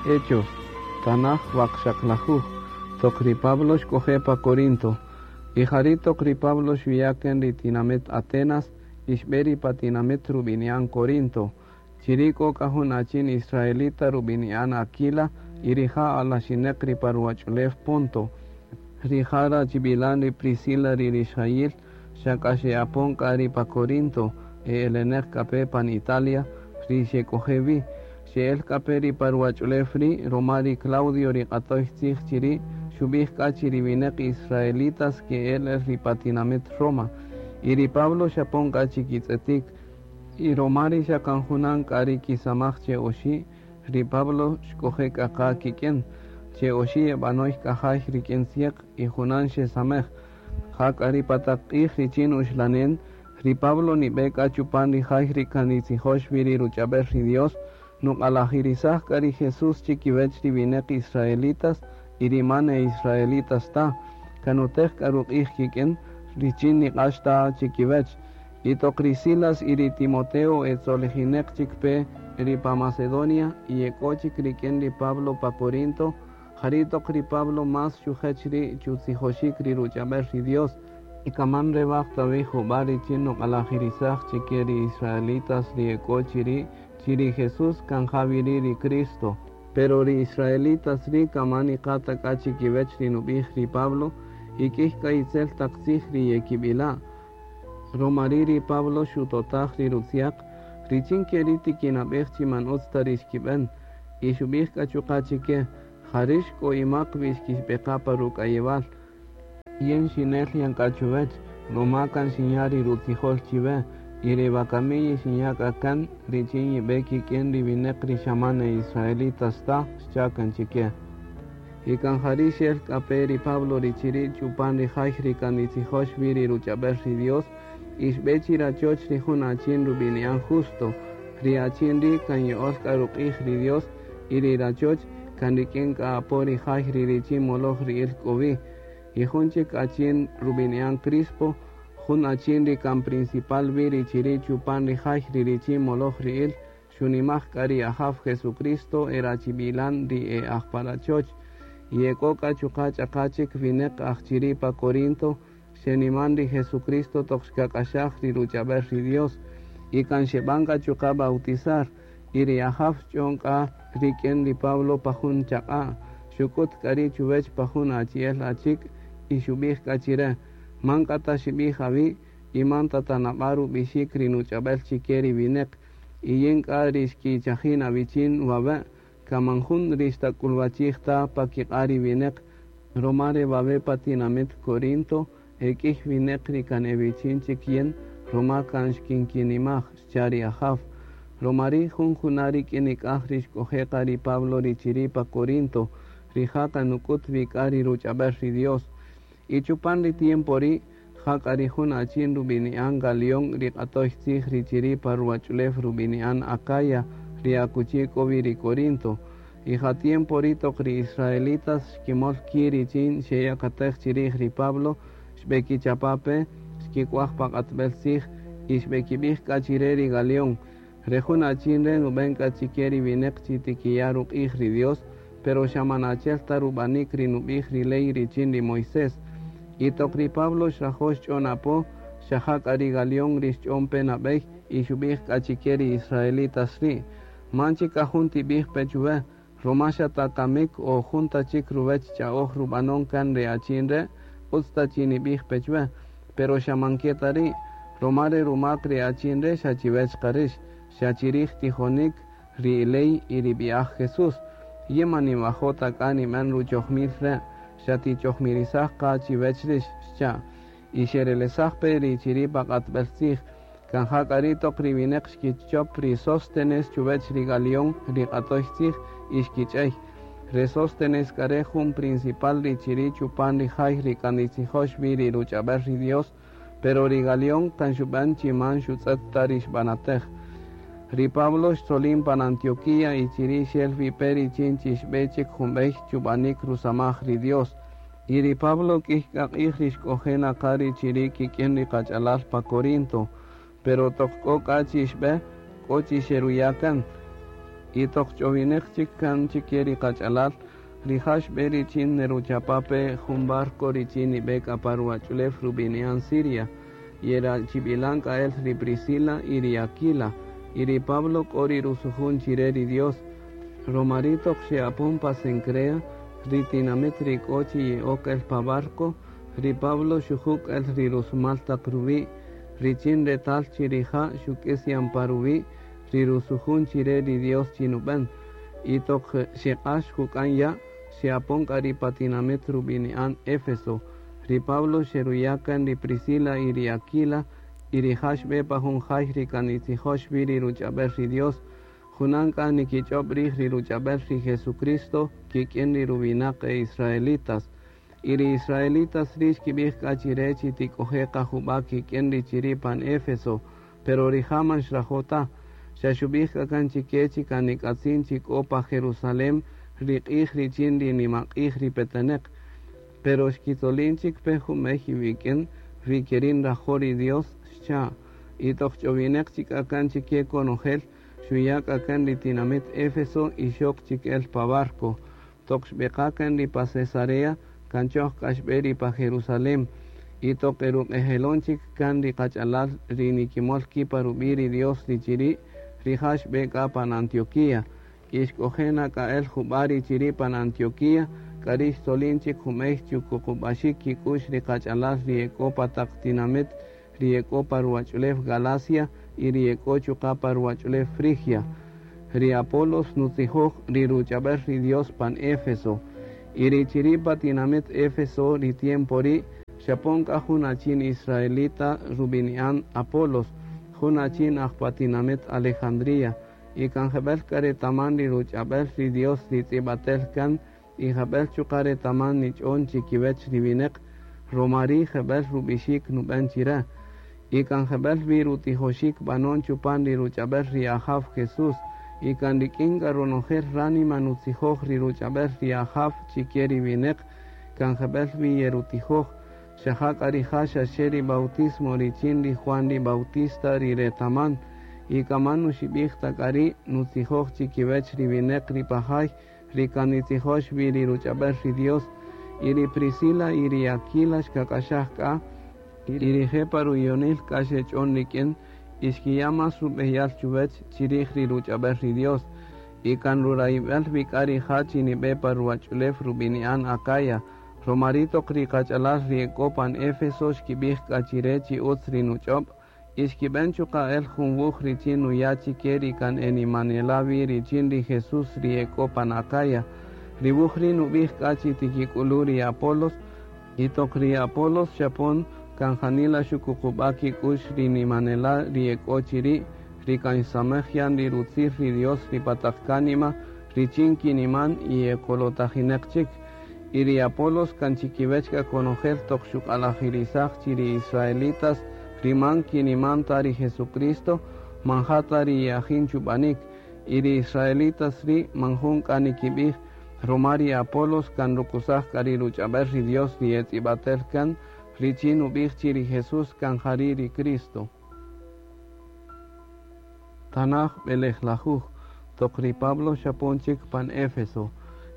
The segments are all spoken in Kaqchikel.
Hechos, tanaj waqxaqlajuj, toq ri Pablo xk'oje' pa Corinto. Y jari' toq ri Pablo xuya' kan ri tinamit Atenas y xb'e ri pa tinamit rub'ini'an Corinto. Chiri' k'o k'a jun achin israelita rub'ini'an Aquila y rija' alaxineq ri pa ruwach'ulew Ponto. Rija' rachib'ilan ri Priscila ri rixjayil xa k'a xe'apon k'a ri pa Corinto e eleneq k'a pe pan Italia ri xek'oje' wi. Xe'el k'a pe ri pa ruwach'ulew ri' ruma ri Claudio ri q'atoy tzij chiri' xub'ij k'a chi ri winäq israelitas ke'el el ri pa tinamit Roma. Y ri Pablo xapon k'a chikitz'etik. Y ruma ri xa kan junan k'a ri kisamaj che oxi', ri Pablo xk'oje' k'a qa kik'in. Che oxi' eb'anoy k'ajay rik'in tzieq y junan xesamej. Ja k'a ri pa taq q'ij richin uxlanen, ri Pablo nib'e k'a chupan ri jay ri kan nitzijox wi ri ruch'ab'el ri Dios, nuq'alajirisaj k'a ri Jesús chikiwech ri winäq israelitas y ri man e israelitas ta. Kan nutej k'a ruq'ij kik'in richin niq'ax ta chikiwech. Y toq ri Silas y ri Timoteo etzolijinäq chik pe ri pa Macedonia y e k'o chik rik'in ri Pablo pa Corinto, jari' toq ri Pablo más xujech ri' chutzijoxik ri ruch'ab'el ri Dios. Y kaman rewaj ta wi jub'a' richin nuq'alajirisaj chike ri israelitas ri e k'o chiri' chi ri Jesús kan ja wi ri' ri Cristo. Pero ri israelitas ri' kaman niqa ta k'a chikiwech ri nub'ij ri Pablo y k'ïy k'a itzel taq tzij ri yekib'ila'. Ruma ri' ri Pablo xutotaj ri rutziaq richin ke ri' tikinab'ej chi man utz ta ri xkib'än. Y xub'ij k'a chuqa' chike: Ja rïx k'o imak wi xkixb'eqa pa ruk'ayewal. Yin xinel yan k'a chuwech, ruma kan xinya' ri rutzijol chiwe, y ri wakami yixinya' k'a kan richin yib'e kik'in ri winäq ri xa man e israelitas ta, xcha' kan chike. Y kan jari' xel k'a pe ri Pablo ri chiri' chupan ri jay ri kan nitzijox wi ri ruch'ab'el ri Dios, y xb'e chi rachoch ri jun achin rub'ini'an Justo. Ri achin ri' kan ya'ol k'a ruq'ij ri Dios y ri rachoch kan rik'in k'a apo ri jay ri richin moloj ri'il k'o wi. Y jun chik achin rub'ini'an Crispo, jun achin ri kan principal wi ri chiri' chupan ri jay ri richin moloj ri'il, xunimaj k'a ri Ajaw Jesucristo e rachib'ilan ri e aj pa rachoch. Y e k'o k'a chuqa' ch'aqa chik winäq aj chiri' pa Corinto, xeniman ri Jesucristo toq xkak'axaj ri ruch'ab'el ri Dios. Y kan xeb'an k'a chuqa' bautizar. Y ri Ajaw xch'on k'a rik'in ri Pablo pa jun chaq'a', xuk'ut k'a ri' chuwech pa jun achi'el achik' y xub'ij k'a chire: Man k'a ta xib'ij awi' y man ta tanab'a' rub'ixik ri nuch'ab'el chike ri winäq. Y yin k'a ri xkichajin awichin wawe', kan man jun ri xtak'ulwachij ta pa kiq'a' ri winäq, ruma re wawe' pa tinamit Corinto e k'ïy winäq ri kan ewichin chik yin, ruma kan xkinkinimaj, xcha' ri Ajaw. Ruma ri' jun juna' rik'in nik'aj ri xk'oje' qa ri Pablo ri chiri' pa Corinto, rija' kan nuk'ut wi k'a ri ruch'ab'el ri Dios. Y chupan ri tiempo ri', ja k'a ri jun achin rub'ini'an Galión ri q'atoy tzij ri chiri' pa ruwach'ulew rub'ini'an Acaya ri akuchi k'o wi ri Corinto. Y ja tiempo ri' toq ri israelitas xkimol ki' richin xeyakatej chirij ri Pablo, xb'ekichapa' pe, xkik'waj pa q'atb'el tzij y xb'ekib'ij k'a chire ri Galión: Re jun achin re' nub'en k'a chike ri winäq chi tikiya' ruq'ij ri Dios, pero xa man achi'el ta rub'anik ri nub'ij ri ley richin ri Moisés. Y toq ri Pablo xrajo' xch'on apo, xa ja k'a ri Galión ri xch'on pe nab'ey y xub'ij k'a chike ri israelitas ri': Man chik k'a jun tib'ij pe chuwe, ruma xa ta kamik o jun ta chik ruwech ch'a'oj rub'anon kan re achin re', utz ta chi nib'ij pe chuwe. Pero xa man ke ta ri', ruma re rumak re achin re' xa chiwech qa rïx, xa chirij tijonik, ri ley y ri b'i'aj Jesús. Yin man ninwajo' ta k'a nib'än ruchojmil re', xa tichojmirisaj qa chiwech rïx, xcha'. Y xerelesaj pe ri chiri' pa q'atb'el tzij. Kan ja k'a ri' toq ri winäq xkichop ri Sóstenes chuwech ri Galión ri q'atoy tzij y xkich'ey. Re Sóstenes k'a re' jun principal ri chiri' chupan ri jay ri kan nitzijox wi ri ruch'ab'el ri Dios, pero ri Galión kan xub'än chi man xutz'ët ta ri xb'anatej. Ri Pablo xtzolin pan Antioquía y chiri' xel wi pe richin chi xb'e chik jun b'ey chub'anik rusamaj ri Dios. Y ri Pablo k'ïy k'a q'ij ri xk'oje' na qa ri chiri' kik'in ri qach'alal pa Corinto, pero toq k'o k'a chi xb'e, k'o chi xeruya' kan. Y toq ch'owineq chik kan chike ri qach'alal, rija' xb'e richin neruchapa pe jun barco richin nib'e k'a pa ruwach'ulew rub'ini'an Siria, yerachib'ilan k'a el ri Priscila y ri Aquila, y ri Pablo k'o ri rusujun chire ri Dios. Romari toq xe'apon pa Cencrea, ri tinamit ri k'o chi ye'ok el pa barco, ri Pablo xujuk' el ri rusumal taq ruwi', richin retal chi rija' xuk'is yan pa ruwi' ri rusujun chire ri Dios chi nub'en. Y toq xeq'ax juk'an ya', xe'apon k'a ri pa tinamit rub'ini'an Éfeso. Ri Pablo xeruya' kan ri Priscila y ri Aquila, y rija' xb'e pa jun jay ri kan nitzijox wi ri ruch'ab'el ri Dios. Junan k'a nikich'ob' rij ri ruch'ab'el ri Jesucristo kik'in ri ruwinaq e israelitas. Y ri israelitas ri' xkib'ij k'a chire chi tik'oje' qa jub'a' kik'in ri chiri' pan Éfeso, pero rija' man xrajo' ta. Xa xub'ij k'a kan chike chi kan nik'atzin chi k'o pa Jerusalén ri q'ij richin ri nimaq'ij ri peteneq. Pero xkitzolin chik pe jumey iwik'in ri keri' nrajo' ri Dios, xcha'. Y toq ch'owineq chik k'a kan chike konojel, xuya' k'a kan ri tinamit Éfeso y xok chik el pa barco. Toq xb'eqa kan ri pa Cesarea, kan choj k'a xb'e ri pa Jerusalén. Y toq eruq'ejelon chik kan ri qach'alal ri nikimol ki' pa rub'i' ri Dios ri chiri', rija' xb'e k'a pan Antioquía. Y xk'oje' na k'a el jub'a' ri chiri' pan Antioquía, k'ari' xtzolin chik jumey chukuqub'axik kik'u'x ri qach'alal ri e k'o pa taq tinamit ri e k'o pa ruwach'ulew Galacia y ri e k'o chuqa' pa ruwach'ulew Frigia. Ri Apolos nutzijoj ri ruch'ab'el ri Dios pan Éfeso. Y ri chiri' pa tinamit Éfeso ri tiempo ri' xapon k'a jun achin israelita rub'ini'an Apolos, jun achin aj pa tinamit Alejandría, y kan jeb'ël k'a retaman ri ruch'ab'el ri Dios ri tz'ib'atel kan y jeb'ël chuqa' retaman nich'on chikiwech ri wineq, ruma ri' jeb'ël rub'ixik nub'en chire. Y kan jeb'ël wi rutijoxik b'anon chupan ri ruch'ab'el ri Ajaw Jesús, y kan rik'in k'a ronojel ránima nutzijoj ri ruch'ab'el ri Ajaw chike ri wineq, kan jeb'ël wi yerutijoj. Xa ja k'a rija' xa xe ri bautismo richin ri Juan ri Bautista ri retaman, y kan man nuxib'ij ta k'a ri' nutzijoj chikiwech ri wineq ri pa jay ri kan nitzijox wi ri ruch'ab'el ri Dios. Y ri Priscila y ri Aquila xkak'axaj k'a, y rije' pa ruyonil k'a xech'on rik'in, y xkiya' más rub'eyal chuwech chirij ri ruch'ab'el ri Dios. Y kan rurayib'el wi k'a rija' chi nib'e pa ruwach'ulew rub'ini'an Acaya. Ruma ri' toq ri qach'alal ri e k'o pan Éfeso xkib'ij k'a chire chi utz ri nuch'ob', y xkib'en chuqa' el jun wuj richin nuya' chike ri kan e nimanela' wi richin ri Jesús ri e k'o pan Acaya. Ri wuj ri' nub'ij k'a chi tikik'ulu' ri Apolos, y toq ri Apolos xapon kan janila xukuqub'a' kik'u'x ri nimanela' ri e k'o chiri', ri kan xsamej yan ri rutzij ri Dios ri pa taq kánima richin kiniman y e kolotajineq chik. Y ri Apolos kan chikiwech k'a konojel toq xuq'alajirisaj chi ri israelitas ri man kiniman ta ri Jesucristo, man ja ta ri ye'ajin chub'anik. Y ri israelitas ri' man jun k'a nikib'ij, ruma ri Apolos kan rukusaj k'a ri ruch'ab'el ri Dios ri etz'ib'atel kan, richin nub'ij chi ri Jesús kan jari' ri Cristo. Tanaj b'elejlajuj, toq ri Pablo xapon chik pan Éfeso,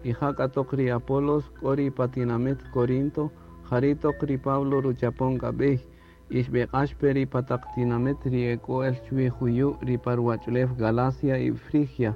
y ja k'a toq ri Apolos k'o ri pa tinamit Corinto, jari' toq ri Pablo ruchapon k'a b'ey, y xb'eq'ax pe ri pa taq tinamit ri e k'o el chuwi juyu' ri pa ruwach'ulew Galacia y Frigia,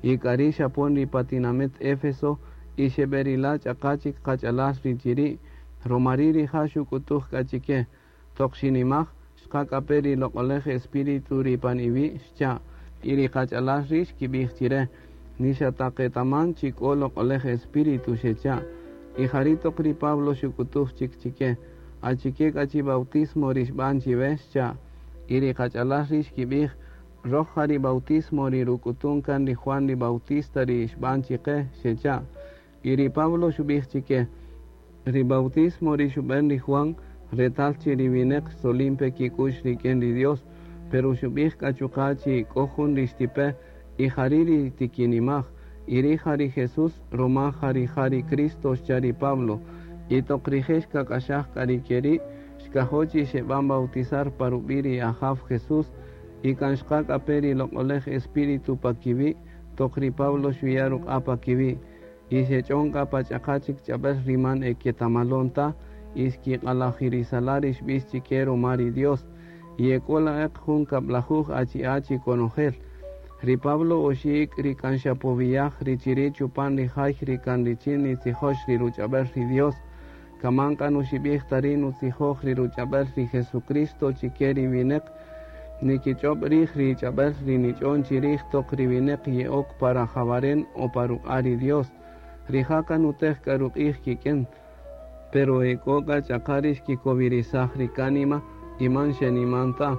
y k'ari' xapon ri pa tinamit Éfeso, y xeb'erila' ch'aqa chik qach'alal ri chiri', ruma ri' rija' xuk'utuj k'a chike, toq xinimaj, xqa k'a pe ri loq'olej Espíritu ri pan iwi', xcha'. Y ri qach'alal ri' xkib'ij chire, ni xa ta qetaman chi k'o loq'olej Espíritu, xecha'. Y jari' toq ri Pablo xuk'utuj chik chike, achike k'a chi bautismo ri xb'an chiwe, xcha'. Y ri qach'alal ri' xkib'ij, roj ja ri bautismo ri ruk'utun kan ri Juan ri Bautista ri xb'an chike, xecha'. Y ri Pablo xub'ij chike, ri bautismo ri xub'en ri Juan, retal chi ri wineq xtzolin pe kik'u'x rik'in ri Dios, pero xub'ij k'a chuqa' chi k'o jun ri xtipe, y jari' ri tikinimaj, y ri' ja ri Jesús, ruma ja rija' ri Cristo, xcha' ri Pablo. Y toq rije' xkak'axaj k'a ri keri', xkajo' chi xeb'an bautizar pa rub'i' ri Ajaw Jesús, y kan xqa k'a pe ri loq'olej Espíritu pa kiwi', toq ri Pablo xuya' ruq'a' pa kiwi', y xech'on k'a pa ch'aqa chik ch'ab'äl ri man e ketamalon ta, y xkiq'alajirisala' ri xb'ix chike ruma ri Dios, y e k'o la'eq jun kab'lajuj achi'a' chi konojel. Ri Pablo oxi' ik' ri kan xapowiyaj ri chiri' chupan ri jay ri kan richin nitzijox ri ruch'ab'äl ri Dios, kaman k'a nuxib'ij ta ri' nutzijoj ri ruch'ab'äl ri Jesucristo chike ri winäq, nikich'ob' rij ri ch'ab'äl ri nich'on chirij toq ri winäq ye'ok pa rajawaren o pa ruq'a' ri Dios. Rija' kan nutej k'a ruq'ij kik'in, pero e k'o k'a ch'aqa ri xkikowirisaj ri kánima y man xeniman ta,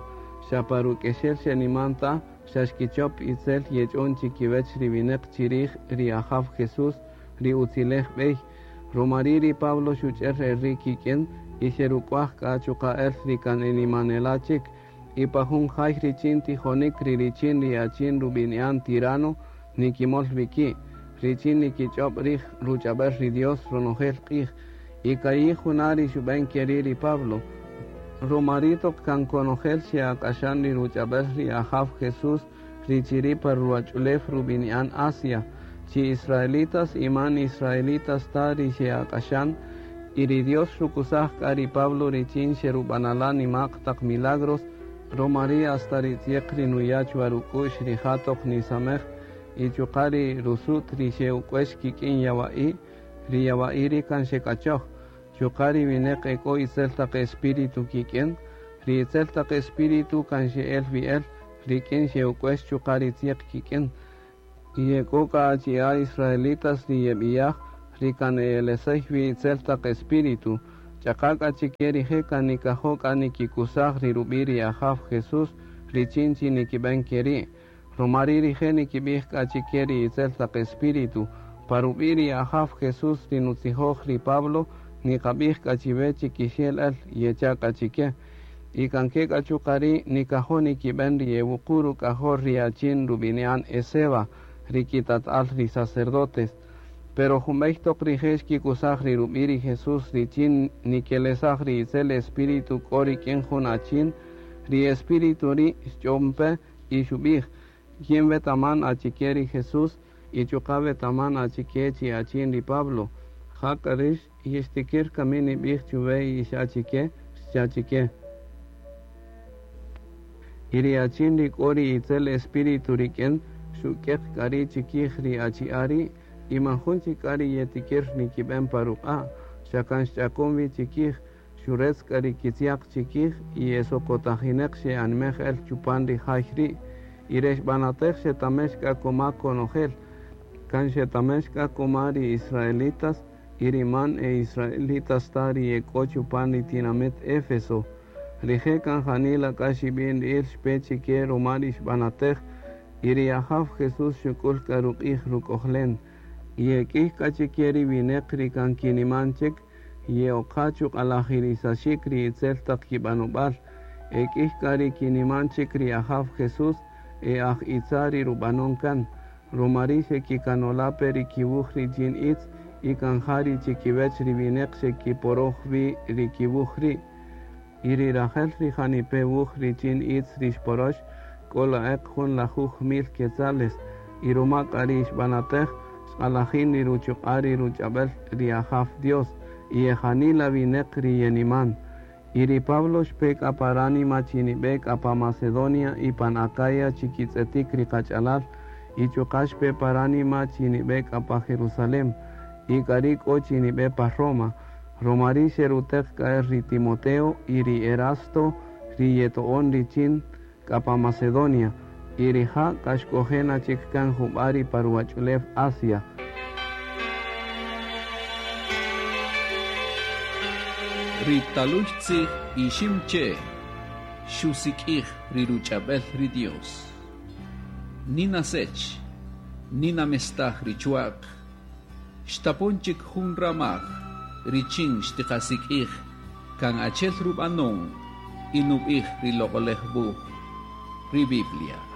xa pa ruk'exel xeniman ta, xa xkichop itzel yech'on chikiwech ri winäq chirij ri Ajaw Jesús, ri utzilej b'ey. Ruma ri' ri Pablo xuch'er el ri' kik'in y xeruk'waj k'a chuqa' el ri kan e nimanela' chik, y pa jun jay richin tijonik ri richin ri achin rub'ini'an Tirano nikimol wi ki', richin nikich'ob' rij ruch'ab'äl ri Dios ronojel q'ij. Y ka'i' juna' ri xub'en ke ri' ri Pablo. Ruma ri' toq kan konojel xe'ak'axan ri ruch'ab'äl ri Ajaw Jesús ri chiri' pa ruwach'ulew rub'ini'an Asia, chi israelitas y man israelitas ta ri xe'ak'axan, y ri Dios xukusaj k'a ri Pablo richin xerub'anala' nima'q taq milagros, ruma ri' hasta ri tzieq ri nuya' chwa ruk'u'x rija' toq nisamej y chuqa' ri rusu't ri xe'uk'uex kik'in yawa'i', ri yawa'i' ri' kan xek'achoj. Chuqa' ri winäq e k'o itzel taq espíritu kik'in, ri itzel taq espíritu kan xe'el wi el rik'in xe'uk'uex chuqa' ri tzieq kik'in. Y e k'o k'a achi'a' israelitas ri yeb'iyaj ri kan e elesey wi itzel taq espíritu, ch'aqa k'a chike rije' kan nikajo' k'a nikikusaj ri rub'i' ri Ajaw Jesús richin chi nikib'en ke ri'. Ruma ri' rije' nikib'ij k'a chike ri itzel taq espíritu, Pa rub'i' ri Ajaw Jesús ri nutzijoj ri Pablo, niqab'ij k'a chiwe chi kixel el, yecha' k'a chike. Y kan ke k'a chuqa' ri' nikajo' nikib'en ri e wuqu' ruk'ajol ri achin rub'ini'an Esceva, ri kitat'al ri sacerdotes. Pero junb'ey toq rije' xkikusaj ri rub'i' ri Jesús richin nikelesaj ri itzel espíritu k'o rik'in jun achin, ri espíritu ri' xch'on pe y xub'ij, Yin wetaman achike ri Jesús y chuqa' wetaman achike chi achin ri Pablo. Jak'a rix yixtikir kami nib'ij chuwe ix achike? Xcha' chike. Y ri achin ri k'o ri itzel espíritu rik'in xuk'eq k'a ri' chikij ri achi'a' ri' y man jun chik k'a ri yetikir nikib'en pa ruq'a', xa kan xch'akon wi chikij, xuretz k'a ri kitziaq chikij y e sokotajineq xe'anmej el chupan ri jay ri'. Y re xb'anatej xetamex k'a koma konojel, kan xetamex k'a koma ri israelitas y ri man e israelitas ta ri e k'o chupan ri tinamit Éfeso. Rije' kan janila k'a xib'inri'il xpe chike ruma ri xb'anatej, y ri Ajaw Jesús xuk'ul k'a ruq'ij ruk'ojlen. Y e k'iy k'a chike ri wineq ri kan kiniman chik, ye'oqa chuq'alajirisaxik ri itzel taq kib'anob'al. E k'iy k'a ri kiniman chik ri Ajaw Jesús e aj itza ri rub'anon kan, ruma ri' xekikanola' pe ri kiwuj richin itz y kan ja ri chikiwech ri wineq xekiporoj wi ri kiwuj ri'. Y ri rajel ri janipe' wuj richin itz ri xporox, k'o la'eq jun lajuj mil quetzales, y ruma k'a ri xb'anatej, xq'alajin ri ruchuq'a' ri ruch'ab'el ri Ajaw Dios, y e janila wineq ri yeniman. Y ri Pablo xpe k'a pa ránima chi nib'e k'a pa Macedonia y pan Acaya chi kitz'etik ri qach'alal, y chuqa' xpe pa ránima chi nib'e k'a pa Jerusalem, y k'ari' k'o chi nib'e pa Roma. Roma ri' xeruteq k'a el ri Timoteo y ri Erasto ri yeto'on richin k'a pa Macedonia, y rija' k'a xk'oje' na chik kan jub'a' ri pa ruwach'ulew Asia. Ri taluy tzij Iximche' xusik'ij ri ruch'ab'el ri Dios. Nina sech, nina mestaj ri chwa'q, xtapon chik jun ramaj richin xtiqasik'ij kan achel rub'anon y nub'ij ri Loq'olej Wuj, ri Biblia.